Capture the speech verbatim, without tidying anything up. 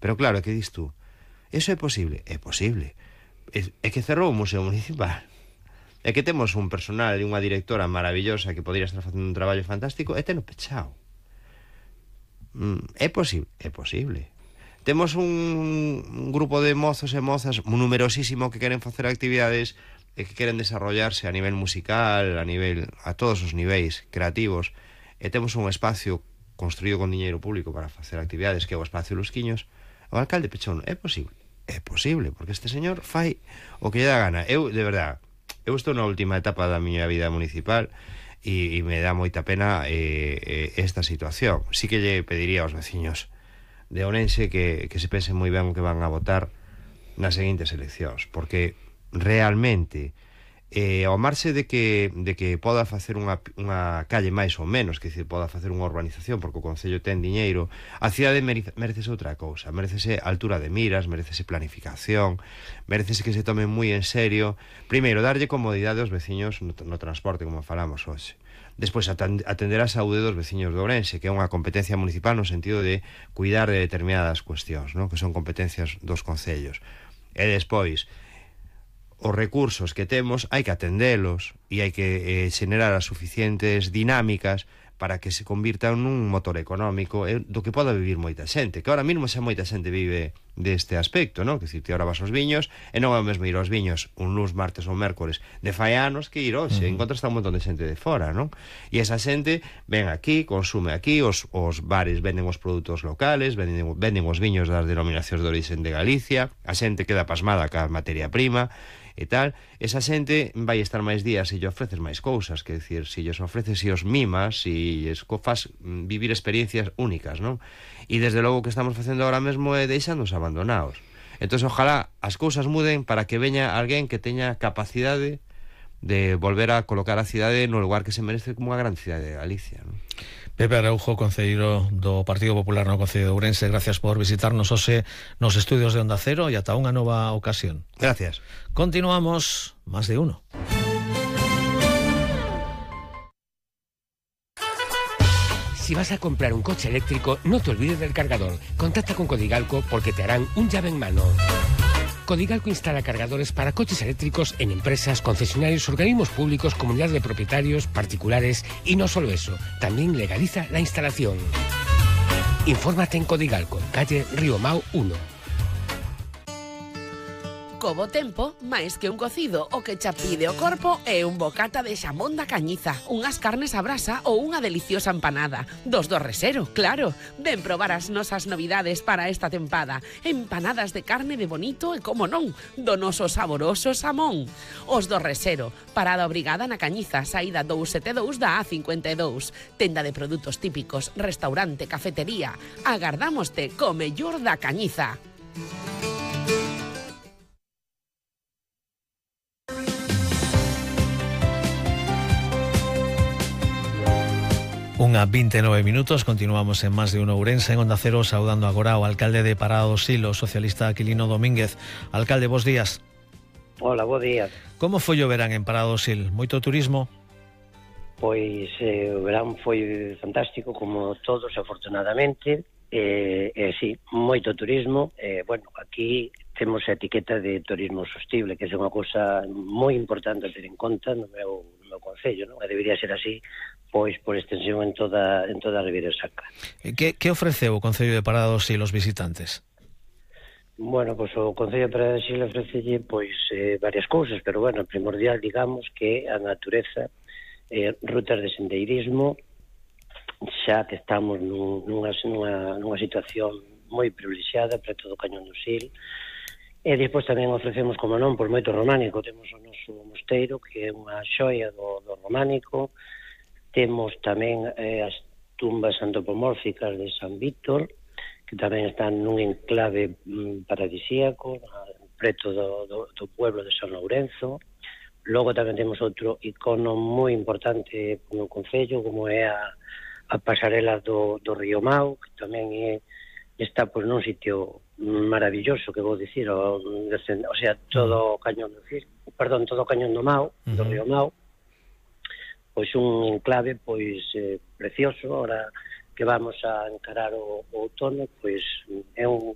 Pero claro, que dis tú? Eso é posible? É posible. É, é que cerrou o Museo Municipal. É que temos un personal e unha directora maravillosa que podría estar facendo un traballo fantástico e teno pechado. Mm, é posible? É posible. Temos un, un grupo de mozos e mozas numerosísimo que queren facer actividades e que queren desarrollarse a nivel musical, a nivel a todos os niveis creativos, e temos un espacio construído con diñeiro público para facer actividades que é o Espacio Lusquiños. O alcalde pechou. É posible? É posible, porque este señor fai o que lle dá gana. Eu, de verdad, eu estou na última etapa da miña vida municipal e, e me dá moita pena eh, eh, esta situación. Sí que lle pediría aos veciños de Ourense que, que se pense moi ben o que van a votar nas seguintes eleccións, porque realmente eh, ao marxe de que, de que poda facer unha, unha calle máis ou menos, que decir, poda facer unha urbanización porque o Concello ten diñeiro, a cidade merecese outra cousa, merecese altura de miras, merecese planificación, merecese que se tome moi en serio, primeiro, darlle comodidade aos veciños no, no transporte, como falamos hoxe. Despois, atender a saúde dos veciños de Ourense, que é unha competencia municipal no sentido de cuidar de determinadas cuestións, ¿no? Que son competencias dos concellos. E despois, os recursos que temos hai que atendelos e hai que eh, xenerar as suficientes dinámicas para que se convirtan nun motor económico eh, do que poda vivir moita xente, que ahora mesmo xa moita xente vive deste aspecto, non? Que dicir, te ahora vas aos viños e non é o mesmo ir aos viños un luns, martes ou mércores de fai anos que ir hoxe, uh -huh. Encontras un montón de xente de fora, non? E esa xente ven aquí, consume aquí, os, os bares venden os produtos locales, venden, venden os viños das denominacións de orixen de Galicia, a xente queda pasmada ca materia prima e tal, esa xente vai estar máis días se lle ofreces máis cousas, que decir, se lles ofreces e os mimas e lles faz vivir experiencias únicas, non? E desde logo que estamos facendo ahora mesmo é deixándonos abandonados. Entón, ojalá as cousas muden para que veña alguén que teña capacidade de volver a colocar a cidade no lugar que se merece como unha gran cidade de Galicia, non? Pepe Araujo, concelleiro do Partido Popular no Concello de Ourense, gracias por visitarnos hoxe nos estudios de Onda Cero e ata unha nova ocasión. Gracias. Continuamos, Más de Uno. Si vas a comprar un coche eléctrico, no te olvides del cargador. Contacta con Codigalco porque te harán un llave en mano. Codigalco instala cargadores para coches eléctricos en empresas, concesionarios, organismos públicos, comunidades de propietarios, particulares y no solo eso, también legaliza la instalación. Infórmate en Codigalco, calle Río Mau uno. Co bo tempo, máis que un cocido, o que xa pide o corpo é un bocata de xamón da Cañiza, unhas carnes a brasa ou unha deliciosa empanada. Dos do Resero, claro. Ven probar as nosas novidades para esta tempada. Empanadas de carne de bonito e, como non, do noso saboroso xamón. Os do Resero, parada obrigada na Cañiza, saída dous sete dous da A cincuenta e dous. Tenda de produtos típicos, restaurante, cafetería. Agardámoste co mellor da Cañiza. Unha vinte e nove minutos, continuamos en Más de Uno Ourense, en Onda Cero, saudando agora ao alcalde de Parada do Sil, o socialista Aquilino Domínguez. Alcalde, bos días. Hola, bos días. Como foi o verán en Parada do Sil? Moito turismo? Pois eh, o verán foi fantástico, como todos, afortunadamente. E, eh, sí, moito turismo. Eh, bueno, aquí temos a etiqueta de turismo sostible, que é unha cousa moi importante a ter en conta no meu, no meu concello, non? E debería ser así, pois por extensión en toda en toda a Ribeira Sacra. Que, que ofreceu o Concello de Parada do Sil aos visitantes? Bueno, pois o Concello de Parada do Sil ofrecelle pois eh, varias cousas, pero bueno, primordial, digamos, que a natureza, eh, rutas de sendeirismo, xa que estamos nun, nunha, nunha, nunha situación moi privilexiada preto do Cañón do Sil. E despois tamén ofrecemos, como non, por moito románico. Temos o noso mosteiro, que é unha xoia do, do románico. Temos tamén eh, as tumbas antropomórficas de San Víctor, que tamén están nun enclave mm, paradisíaco, preto do, do, do pueblo de San Lourenzo. Logo tamén temos outro icono moi importante no concello, como é a, a pasarela do, do Río Mau, que tamén é, está pois, nun sitio maravilloso, que vou dicir, o, o sea, todo o cañón do Sil, perdón, todo o cañón do Mau, do uh -huh. Río Mau, pois un enclave pois eh, precioso. Ahora que vamos a encarar o, o outono, pois é un,